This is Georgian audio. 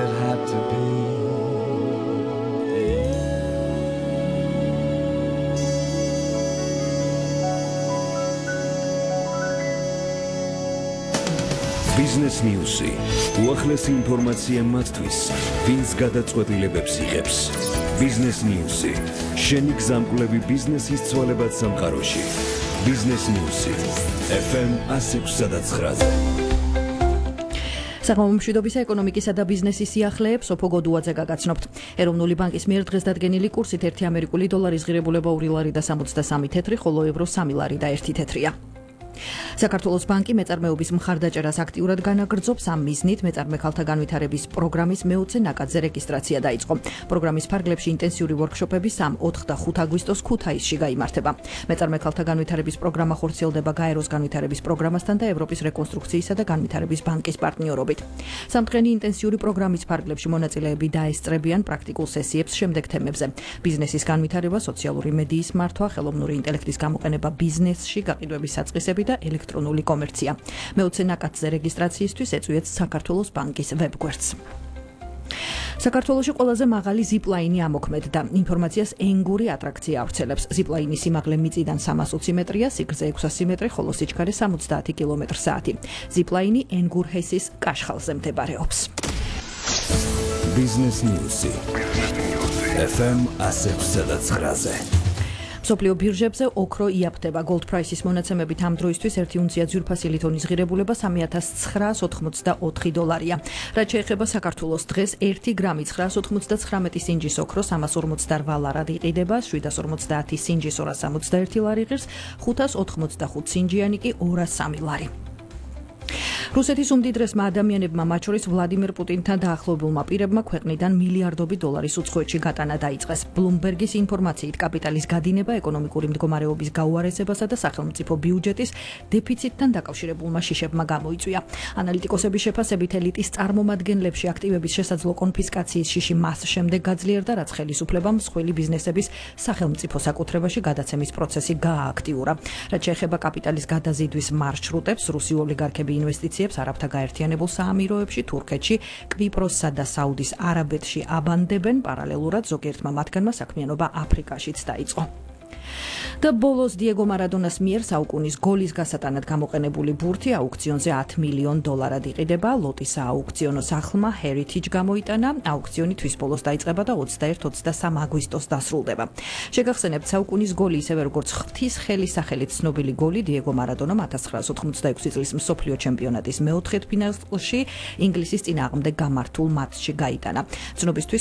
it had to be. Business News-ი უახლესი ინფორმაცია მათთვის, ვინც გადაწყვეტილებებს იღებს. Business News-ი შენი გზამკვლევი ბიზნესის ცვალებად სამყაროში. Business News-ი FM 106.9-ზე. საგამომშვიდობისა ეკონომიკისა და ბიზნესის სიახლეებს სოფო გოდუაძე გაგაცნობთ. ეროვნული ბანკის მიერ დღეს დადგენილი კურსით 1 ამერიკული დოლარის ღირებულება 2 ლარი და 63 თეთრი, ხოლო ევრო 3 ლარი და 1 თეთრია. საქართველოს ბანკი მეწარმეობის მხარდაჭერას აქტიურად განაგრძობს. ამ მიზნით მეწარმე ქალთა განვითარების პროგრამის მე-20 ნაკადზე რეგისტრაცია დაიწყო. პროგრამის ფარგლებში ინტენსიური ვორქშოპები 3, 4 და 5 აგვისტოს ქუთაისში გაიმართება. მეწარმე ქალთა განვითარების პროგრამა ხორციელდება გაეროს განვითარების პროგრამასთან და ევროპის რეკონსტრუქციისა და განვითარების ბანკის პარტნიორობით. სამთდღიანი ინტენსიური პროგრამის ფარგლებში მონაწილეები დაესწრებიან პრაქტიკულ სესიებს შემდეგ თემებზე: ბიზნესის განვითარება, სოციალური მედიის მართვა, ხელოვნური ინტელექტის გამოყენება ბიზნესში, გაყიდვების საწყისები და ელექტრონული კომერცია. მე-20 ნაკადზე რეგისტრაციისთვის ეწვიეთ საქართველოს ბანკის ვებგვერდს. საქართველოში ყველაზე მაღალი ზიპლაინი ამოქმედდა. ინფორმაციას ენგური ატრაქცია ავრცელებს. ზიპლაინის სიმაღლე მიწიდან 320 მეტრია, სიგრძე 600 მეტრი, ხოლო სიჩქარე 70 კმ/სთ. ზიპლაინი ენგურჰესის კაშხალზე მდებარეობს. Business News-ი FM 106.9-ზე. მსოფლიო ბირჟებზე ოქრო იაფთება. Gold Price-ის მონაცემებით ამ დროისთვის 1 უნცია ძვირფასი ლითონის ღირებულება 3984 დოლარია. რაც შეეხება საქართველოს დღეს 1 გრამი 999 სინჯის ოქრო 348 ლარად იყიდება, 750 სინჯის 261 ლარი ღირს, 585 სინჯიანი კი 203 ლარი. რუსეთის უმდიდრესმა ადამიანებმა, მათ შორის ვლადიმერ პუტინთან დაახლოებულმა პირებმა ქვეყნიდან მილიარდობით დოლარის უცხოეთში გატანა დაიწყეს. Bloomberg-ის ინფორმაციით კაპიტალის გადინება ეკონომიკური მდგომარეობის გაუარესებასა და სახელმწიფო ბიუჯეტის დეფიციტთან დაკავშირებულმა შიშებმა გამოიწვია. ანალიტიკოსების შეფასებით ელიტის წარმომადგენლებში აქტივების შესაძლო კონფისკაციის შიში მას შემდეგ გაძლიერდა, რაც ხელისუფლებამ მსხვილი ბიზნესების სახელმწიფო საკუთრებაში გადაცემის პროცესი გაააქტიურა. რაც შეეხება კაპიტალის გადაზიდვის მარშრუტებს, რუსი ოლიგარქები ინვესტიციებს არაბთა გაერთიანებულ საამიროებში, თურქეთში, კვიპროსსა და საუდის არაბეთში აბანდებენ. პარალელურად ზოგიერთმა მათგანმა საქმიანობა აფრიკაშიც დაიწყო. და ბოლოს დიეგო მარადონას მიერ საუკუნის გოლის გასატანად გამოყენებული ბურთი აუქციონზე 10 მილიონ დოლარად იყიდება. ლოტის აუქციონო სახლმა Heritage გამოიტანა. აუქციონი თვის ბოლოს დაიწყება და 21-23 აგვისტოს დასრულდება. შეგახსენებთ, საუკუნის გოლი, ისევე როგორც ღვთის ხელის სახელით ცნობილი გოლი, დიეგო მარადონამ 1986 წლის მსოფლიო ჩემპიონატის მე-4 ფინალში ინგლისის წინააღმდეგ გამართულ მატჩში გაიტანა. ცნობისთვის